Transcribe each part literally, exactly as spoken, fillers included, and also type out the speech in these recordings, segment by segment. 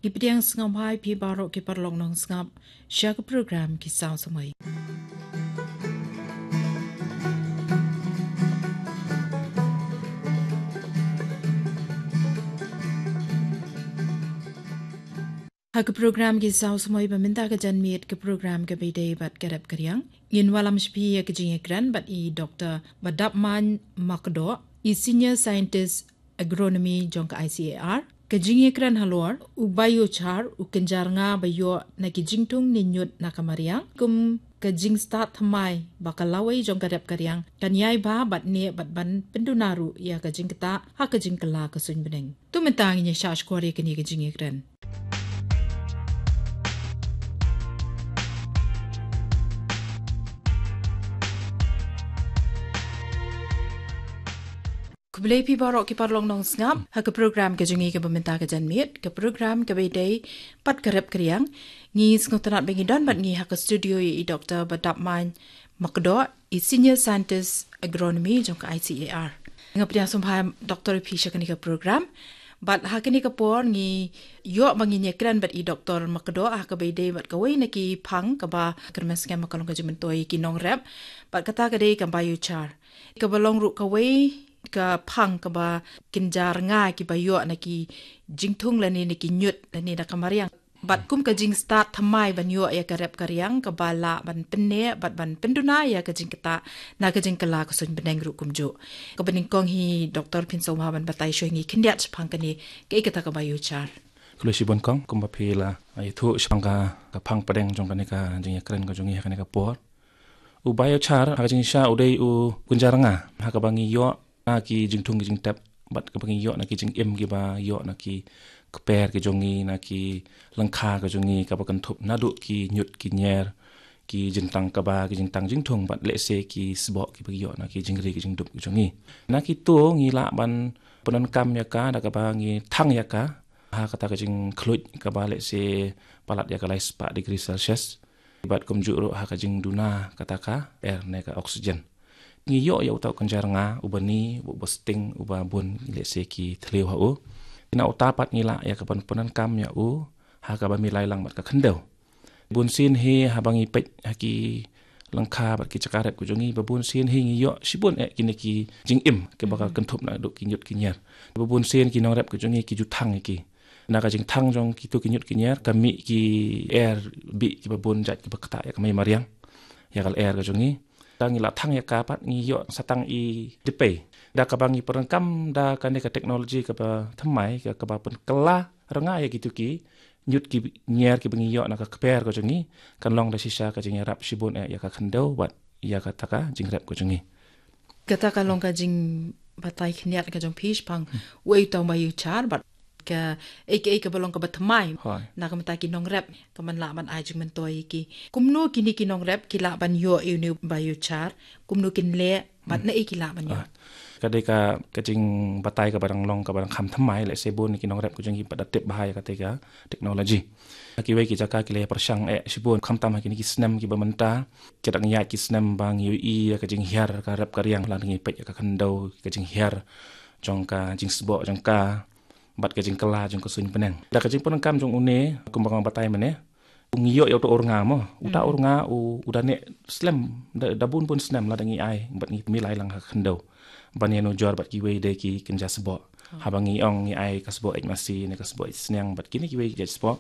Ki pdiang sngewbha ïa phi baroh ki paralok nongsngap sha ka program Ki Saw Samoi. Ha ka program Ki Saw Samoi ba mynta ka janmiet, ka program kaba ïadei bad ka rep ka riang, ngin wallam sha phi ïa ka jingïakren bad i Doktor Badapmain Makdoh, i Senior Scientist Agronomy jong ka I C A R. Ka jingïakren halor u biochar, u kynja rnga ba ïoh na ki jingthung ne ñiut na ka mariang, kum ka jingstad thymmai ba ka lawei jong ka rep ka riang kan ïai bha bad neh bad ban pynduna ruh ïa ka jingktah ha ka jingkylla ka suiñ bneng. To mynta ngin ïa shah shkor ïa kane ka jingïakren. Khublei phi baroh ki paralok nongsngap ha ka program ka jong ngi kaba mynta ka janmiet, ka program kaba ïadei bad ka rep ka riang. Ngi sngewtynnat ba ngi don bad ngi ha ka studio ïa i Doktor Badapmain Makdoh, i Senior Scientist Agronomy jong ka I C A R. Nga pdiang sngewbha Doktor ïa phi sha kane ka program. Bad ha kane ka por ngi ïoh ba ngin ïakren bad i Doktor Makdoh ha kaba ïadei bad kawei na ki phang kaba kyrmen skhem ba ka long ka jingmyntoi ïa ki nongrep. Bad kata ka dei ka biochar, kaba long ruh kawei ka phang kaba kynja rnga kiba ïoh na ki jingthung lane na ki ñiut lane na ka mariang. Bad kum ka jingstad thymmai ban ïoh ïa ka rep ka riang kaba lah ban pynneh bad ban pynduna ïa ka jingktah na ka jingkylla ka suiñ bneng ruh kumjuh. Kaba nyngkong hi Doktor, phin sngewbha ban batai shuwa ïa ngi khyndiat shaphang kane, kaei kata ka biochar? Khublei shibun kong, kumba phi la ïathuh shaphang ka, ka phang pdeng jong kane ka jingïakren ka jong ngi ha kane ka por. U biochar ha ka jingshisha u dei u kynja rnga ha kaba ngi ïoh na ki jingthung ki jingtep bad kaba ngi ïoh na ki jingim kiba ïoh na ki kper ki jong ngi, na ki lyngkha ki jong ngi, kaba kynthup naduh ki ñiut ki ñier, ki jingtang kba, ki jingtang jingthung bad lehse ki sboh kiba ngi ïoh na ki jingri ki jingdup ki jong ngi. Na kito ngi lah ban pyndonkam ïa ka da kaba ngi thang ïa ka ha kata ka jingkhluit kaba lehse palat ïa ka lai spah degree Celsius. Bad kumjuh ruh ha ka jingduna kata ka air ne ka oxygen. Ngi ïoh ïa uta u kynja rnga uba ni, uba sting, uba bun lehse ki thliew ha u. Na uta pat ngi lah ïa ka ban pyndonkam ïa u ha kaba milai lang bad ka khyndew. Bunsien hi haba ngi peit ha ki lyngkha bad ki jaka rep ki jong ngi, ba bunsien hi ngi ïoh shibun eh kine ki jingim kiba ka kynthup naduh ki ñiut ki ñier. Ba bunsien ki nongrep ki jong ngi ki ju thang ïa ki. Na ka jingthang jong kito ki ñiut ki ñier ka mih ki air bih kiba bun jait kiba ktah ïa ka mei mariang, ïa ka lyer ka jong ngi. Da ngi la thang ïa ka pat ngi ïoh sa tang i dipei. Da kaba ngi pyndonkam da kane ka technology kaba thymmai, ka, kaba pynkylla rnga ïa kito ki ñiut ki ñier kiba ngi ïoh na ka kper ka jong ngi, kan long da shisha ka jingïarap shibun eh ïa ka khyndew bad ïa kata ka jingrep ka jong ngi. Kata ka long ka jingbatai khyndiat ka jong phi shaphang uei uta u biochar bad kaei kaei kaba long kaba thymmai. Hooid. Na ka bynta ki nongrep, ka man lah ban ai jingmyntoi ïa ki. Kumno kine ki nongrep ki lah ban ïoh ïa une u biochar, kumno kin leh bad naei ki lah ban ïoh? Ah, ka dei ka, ka jingbatai kaba dang long kaba dang kham thymmai, lehse bun ki nongrep ki jong ngi pat da tip bha ïa kata ka technology. Ha kiwei ki jaka ki la pyrshang eh shibun, khamtam ha kine ki snem kiba mynta. Ki dang ïaid ki snem ba ngi ïohi ïa ka jinghiar ka rep ka riang, lada ngi peit ïa ka khyndew, ka jinghiar jong ka, jingsboh jong ka bad ka jingkylla jong ka suiñ bneng. Da ka jingpyndonkam jong une, kumba nga batai mynne, ngi ïoh ïa uta u rnga mo. Uta u rnga u, u da neh slem, da, da bun bun snem lada ngi ai bad ngi milai lang ha ka khyndew. Ban ïanujor bad kiwei de ki kynja sboh. Haba ngi ong ngi ai ka sboh eit masi ne ka sboh eit sniang bad kine kiwei ki jait sboh,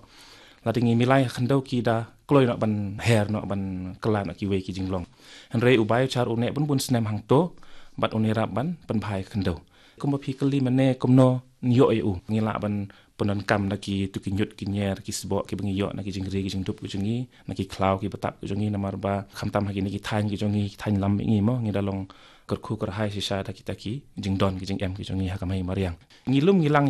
lada ngi milai ha ka khyndew ki da kloi noh ban her noh, ban kylla noh kiwei ki jinglong. Hynrei u biochar u neh bun bun snem hangto bad un ïarap ban pynbha ïa ka khyndew. Kumba phi kylli mynne kumno ngi ïoh ïa u, ngi lah ban pyndonkam da kito ki ñiut ki ñier ki sboh kiba ngi ïoh na ki jingri ki jingdup ki jong ngi, na ki khlaw kiba tap ki jong ngi, namar ba khamtam ha kine ki thaiñ ki jong ngi, ki thaiñ lam ngi mo, ngi da long kyrkhu kyrhai shisha da kita ki jingdon ki jingem ki jong ngi ha ka mei mariang. Ngi lum ngi lang